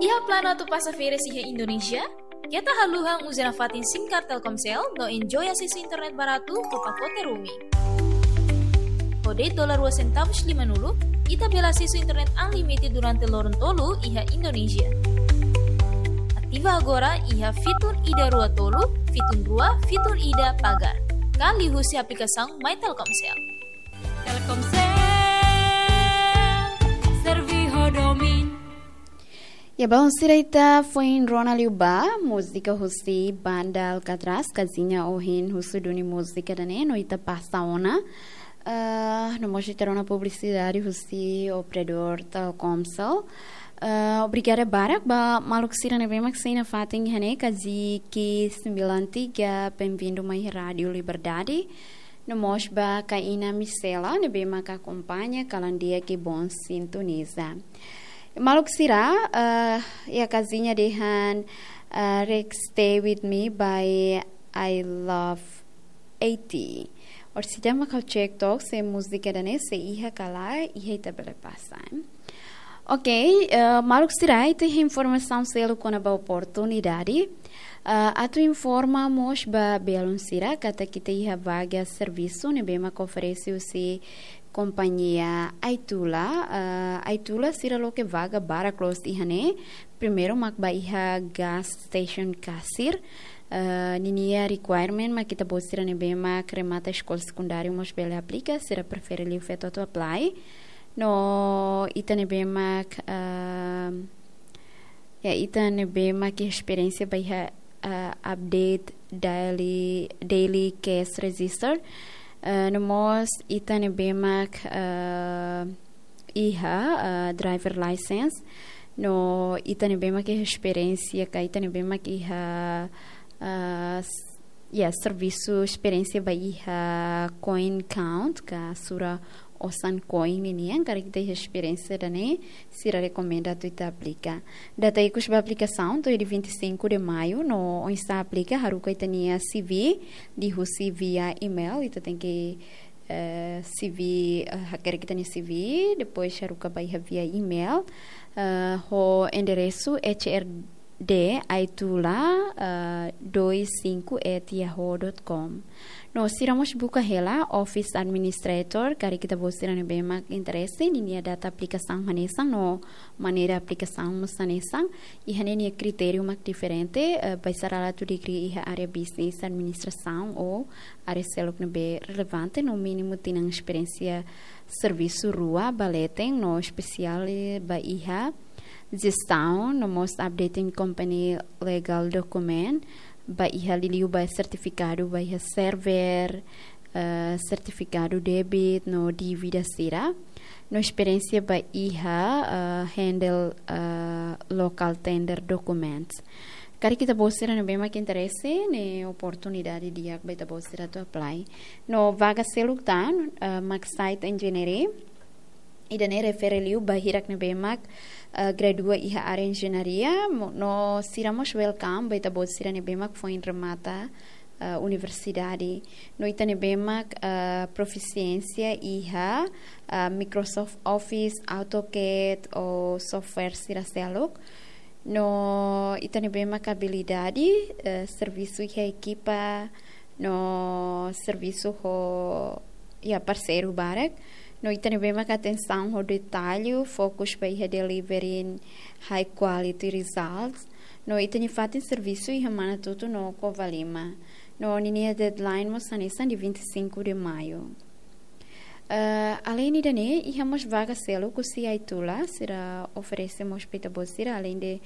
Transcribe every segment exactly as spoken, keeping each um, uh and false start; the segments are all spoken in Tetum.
Iha planu atu pasa férias iha Indonézia? Keta haluha uza nafatin SIM card Telkomsel no enjoy asesu internet baratu ho pakote roaming. Ho de'it dolar rua sentavus limanulu, ita bele asesu internet unlimited durante loron tolu iha Indonézia. Ativa agora iha fitun ida rua tolu, fitun rua, fitun ida pagar. Ka liuhusi aplikasaun My Telkomsel. Telkomsel, servi ho domin. Ya, balun sira, ita foin rona liu ba múzika husi banda Alcatraz, Casinha, ohin husu duni múzika ida-ne'e, no ita pasa ona. Ah, no mós ita rona publisidade husi operadór Telkomsel. Ah, obrigada barak ba maluk sira ne'ebé mak sei nafatin iha ne'e, Kaziki sembilan tiga, bem-vindo mai Rádio Liberdade. No mós ba Kaina Misela, ne'ebé mak akompaña kalan di'ak ke bom sintoniza. Maluk sira, eh, iha Casinha dehan, eh, Rex Stay With Me by I Love eighty. Orsida mak ha'u cek took se múzika ida-ne'e sei iha ka lae, iha ita bele pasa, eh. Ok, eh, maluk sira, ita iha informasaun seluk kona-ba oportunidade. Eh, atu informa mós ba belun sira katak ita iha vaga servisu ne'ebé mak oferese husi kompañia Aitula. Eh, Aitula sira loke vaga barak loos iha ne'e. Primeiru mak ba iha gas station kasir. Eh, ninia requirement mak ita-boot sira ne'ebé mak remata eskola sekundáriu mós bele aplika, sira prefere liu feto atu apply. No ita ne'ebé mak, ehm, ya, ita ne'ebé mak iha esperiénsia ba iha, eh, update daily, daily case register. Eh, no mós ita ne'ebé mak, eh, iha, eh, driver license. No ita ne'ebé mak iha esperiénsia ka ita ne'ebé mak iha, eh, s-, ya, servisu, esperiénsia ba iha coin count ka sura osan coin ninian, karik ita iha esperiénsia ida-ne'e, sira rekomenda atu ita aplika. Data ikus ba aplikasaun to'o iha dia vinte e cinco de maio, no oinsá aplika, haruka ita-nia C V, liuhusi via email, ita tenke, eh, C V, eh, hakerek ita-nia C V, depois haruka ba iha via email, eh, ho enderesu H R D Aitula, eh, dois cinco at yahoo dot com. No sira mós buka hela office administrator, karik ita-boot sira ne'ebé mak interese, ninia data aplikasaun hanesan no maneira aplikasaun mós hanesan, iha ne'e nia kritériu mak diferente, eh, bainhira atu degree iha área business administrasaun ou área seluk ne'ebé relevante, no mínimu tinan esperiénsia servisu rua ba leten, no espesiál ba iha jestaun, no mós updating company legal document, ba iha liuliu ba sertifikadu ba iha server, eh, sertifikadu débit no dívida sira, no esperiénsia ba iha, eh, handle, eh, local tender documents. Karik ita-boot sira ne'ebé mak interese, ne'e oportunidade di'ak ba ita-boot sira atu apply. No vaga seluk tan, eh, mak site engineering. Ida-ne'e refere liu ba hirak ne'ebé mak, eh, gradua iha área enjeñaria, mo-, no sira mós welcome ba ita-boot sira ne'ebé mak foin remata, eh, universidade. No ita ne'ebé mak, eh, profisiénsia iha, eh, Microsoft Office, AutoCAD ou software sira seluk. No ita ne'ebé mak abilidade, eh, servisu iha ekipa, no servisu ho, ya, parseiru barak. No ita ne'ebé mak atensaun ho detallu, fokus ba iha delivering high quality results. No ita-nia fatin servisu iha Manatuto no Covalima. No ninia deadline mós hanesan dia vinte e cinco de maio. Eh, além ida-ne'e, iha mós vaga seluk husi Aitula, sira oferese mós ba ita-boot sira, além de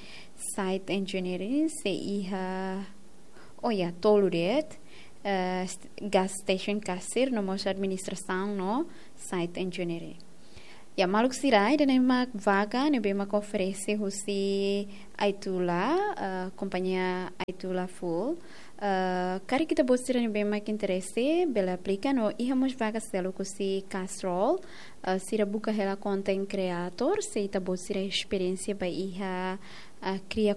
site engineering, sei iha, oh ya, tolu de'it, eh, st-, gas station kasir, no mós administrasaun no site engineering. Ya, maluk sira, ida-ne'e mak vaga ne'ebé mak oferese husi Aitula, eh, kompañia Aitula full. Eh, karik ita-boot sira ne'ebé mak interese, bele aplika, no iha mós vaga seluk husi Castrol, eh, sira buka hela content creator, se ita-boot sira esperiénsia ba iha, eh, kria